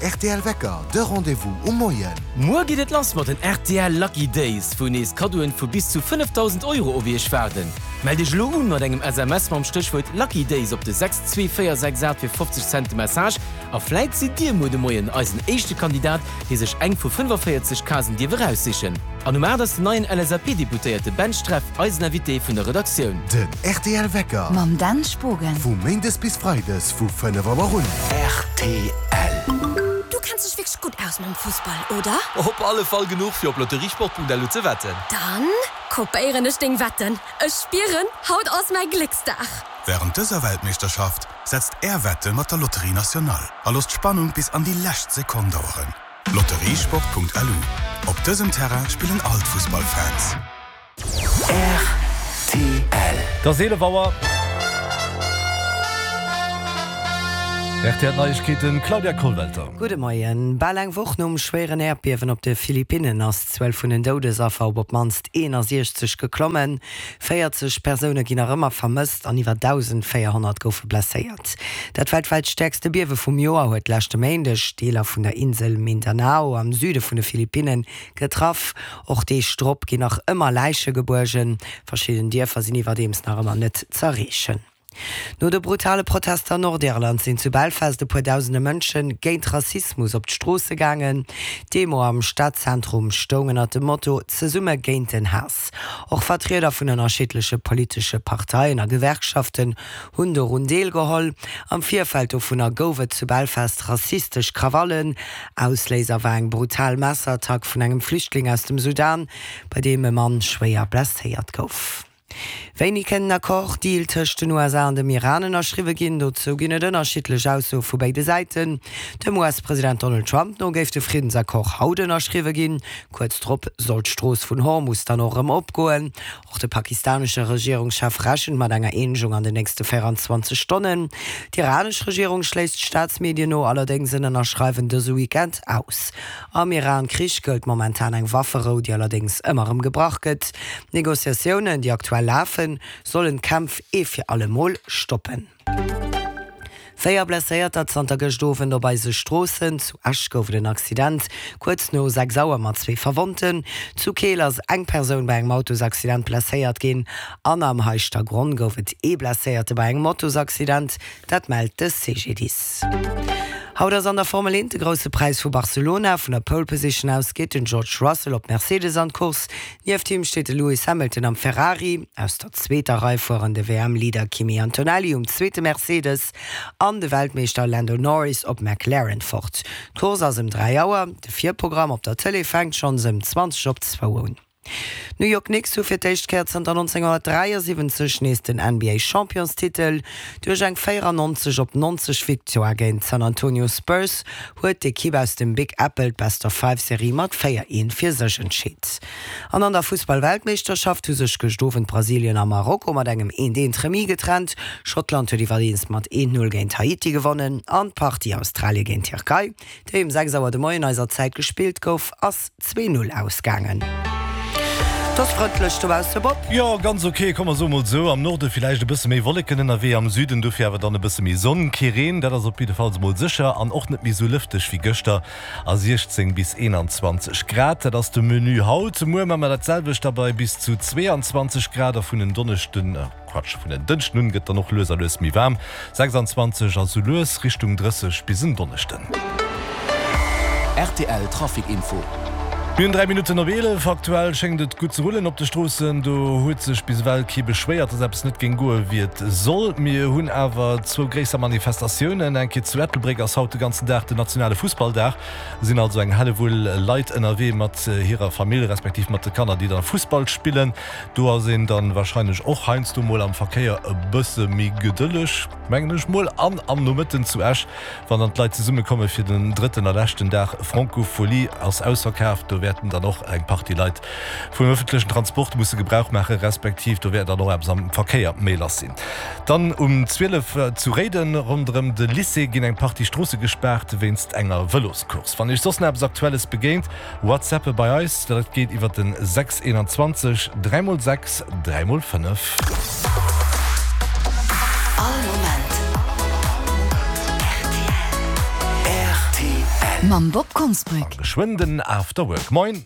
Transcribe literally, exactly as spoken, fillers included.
rtl Wecker, de Rendez-vous um Moien. Muer geet et lass mat den rtl Lucky Days, wou nees Kaddoen vu bis zu fënnefdausend Euro op iech waarden. Mellt iech elo un mat engem S M S mam Stéchwuert Lucky Days op de sechs zwee véier sechs aacht fir fofzeg Cent de Message a vläit sidd dir muer de Moien eisen éischte Kandidat, dee sech eng vu fënnefavéierzeg Casen dierf eraussichen. An um aacht ass den neien L S A P-Deputéierte Ben Streff eisen Invité vun der Redaktioun. Den rtl Wecker. Mam Dan Spogen. Vu Méindes bis Freides vu fënnef Auer un. R T L. Du kenns dech wierklech gutt aus mam Fussball, oder? Op alle Fall genuch fir op lotteriesport Punkt L U ze wetten. Dann kopéieren ech deng Wetten. Ech spieren, haut ass mäi Glécksdag. Wärend dëser Weltmeeschterschaft setzt är Wette mat der Loterie Nationale a loosst d'Spannung bis an déi lescht Sekonn daueren. Lotteriesport Punkt L U. Op dësem Terrain spillen all d'Fussballfans. R T L. Et ass eelef Auer. R T L Neiegkeeten, Claudia Kollwelter. Gudde Moien. Bal eng Woch nom schwéieren Äerdbiewen op de Philippinnen ass d'Zuel vun den Doudesaffer op op d'mannst eenasiechzeg geklommen. véierzeg Persoune ginn nach ëmmer vermësst an iwwer dausendvéierhonnert goufe blesséiert. Dat weltwäit stäerkste Biewe vum Joer huet leschte Méindeg Deeler vun der Insel Mindanao am Süde vun de Philippinne getraff. Och Deeg drop ginn nach ëmmer Läiche gebuergen. Verschidden Dierfer sinn iwwerdeems nach ëmmer net z'erreechen. No de brutale Protester an Nordirland sinn zu Belfast e puer dausende Mënsche géint Rassismus op d'Stroosse gaangen. D'Demo am Stadzentrum stoung ënner dem Motto Zesumme géint den Haass. Och Vertrieder vun ënnerschiddleche politesche Parteien a Gewerkschaften hunn dorun deelgeholl. Am Virfeld dovunner gouf et zu Belfast rassistesch Krawallen. Ausléiser war eng brutal Messerattack vun engem Flüchtling aus dem Sudan, bei deem e Mann schwéier blesséiert gouf. Wéini kënnt en Accord Deal tëscht den U S A an dem Iran ënnerschriwwe ginn? Dozou ginn et ënnerschiddlech Aussoe vu béide Säiten. Dem U S-President Donald Trump no géif de Friddensaccord haut ënnerschriwwe ginn. Kuerz drop soll d'Strooss vun Hormus dann och erëm opgoen. Och de pakistanesche Regierungschef rechent mat enger Eenegung an den nächste véierenzwanzeg Stonnen. D'iranesch Regierung schléisst Staatsmedien no allerdéngs en Ënnerschreiwen dëse Weekend aus. Am Iran-Krich gëllt momentan eng Wafferou, déi allerdéngs ëmmer erëm gebrach gëtt. D'Negociatiounen, déi aktuell lafen, sollen d'Kämpf ee fir alle Mol stoppen. Véier Blesséierter zanter gëscht Owend op eise Stroossen. Zu Esch gouf et en Accident kuerz no sechs Auer mat zwee Verwonnten. Zu Keel ass eng Persoun bei engem Autosaccident blesséiert ginn an am Heischtergronn gouf et ee Blesséierte bei engem Motosaccident, dat mellt de C G D I S. Haut ass an der Formel eent de Grousse Präis vu Barcelona. Vun der Pole Position aus geet den George Russell op Mercedes an d'Course. Nieft him steet de Lewis Hamilton am Ferrari. Aus der zweeter Rei fueren de W M-Leader Kimi Antonelli um zweete Mercedes an de Weltmeeschter Lando Norris op McLaren fort. D'Course ass ëm dräi Auer. De Virprogramm op der Tëlee fänkt schonns ëm zwanzeg op zwou un. D'New York Knicks hu fir d'éischt Kéier zanter nonzénghonnertdräiasiwwenzeg nees den N B A-Championstitel. Duerch eng véierannonzeg op nonzeg Victoire géint d'San Antonio Spurs huet d'Ekipp aus dem Big Apple d'Best-of-Five-Serie mat véier eent fir sech entscheet. An an der Fussball-Weltmeeschterschaft hu sech gëscht Owend Brasilien a Marokko mat engem eent eent Remis getrennt. Schottland huet iwwerdeems mat eent null géint Haiti gewonnen an d'Partie Australie géint Tierkei, déi um sechs Auer de Moien eiser Zäit gespillt gouf, ass zwee null ausgaangen. Et ass frëndlech dobausse, Bob. Jo, ganz ok, komm mer soe mol sou. Am Norde villäicht e bësse méi Wolleken ënnerwee, am Süden dofir awer dann e bësse méi Sonn. Kee Reen, dat ass op jiddefalls mol sécher an och net méi sou lëfteg wéi gëschter a siechzéng bis eenanzwanzeg Grad, dat ass de Menu haut. Muer hu mer dat selwecht da bei bis zu zweeanzwanzeg Grad a vun en Donneschden, Quatsch, vun en Dënschden un gëtt dann och lues a lues méi waarm, sechsanzwanzeg a sou lues Richtung drësseg bis en Donneschden. R T L Trafic Info. Mir hunn dräi Minutten op eelef. Aktuell schéngt et gutt ze rullen op de Stroossen. Do huet sech bis ewell kee beschwéiert, dass eppes net géing goe wéi et soll. Mir hunn awer zwou gréisser Manifestatiounen. Eng Kéier zu Ettelbréck ass haut de ganzen Dag den nationale Fussballdag. Sinn also eng Hellewull Leit ënnerwee mat hirer Famill, respektiv mat de Kanner, déi da Fussball spillen. Do ass een dann warscheinlech och heiansdo mol am Verkéier e bësse méi gedëlleg, mengen ech mol. An am Nomëtten zu Esch, wann dann d'Leit zesummekomme fir den drëtten a leschten Dag Francophonie, ass ausverkaaft. Do wäerten dann och eng Partie Leit vum ëffentlechen Transport musse Gebrauch maachen, respektiv do wäert dann och eppes am Verkéier méi lass sinn. Dann um zwielef zu Réiden ronderëm de Lycée ginn eng Partie Stroosse gespaart wéinst enger Vëloscourse. Wann Iech soss nach eppes Aktuelles begéint, WhatsAppe bei eis, dat geet iwwer den sechs eenanzwanzeg dräi mol sechs dräi mol fënnef. All Moment. R T L. Mam Bob Konsbrück. Geschwënn den After Work. Moin!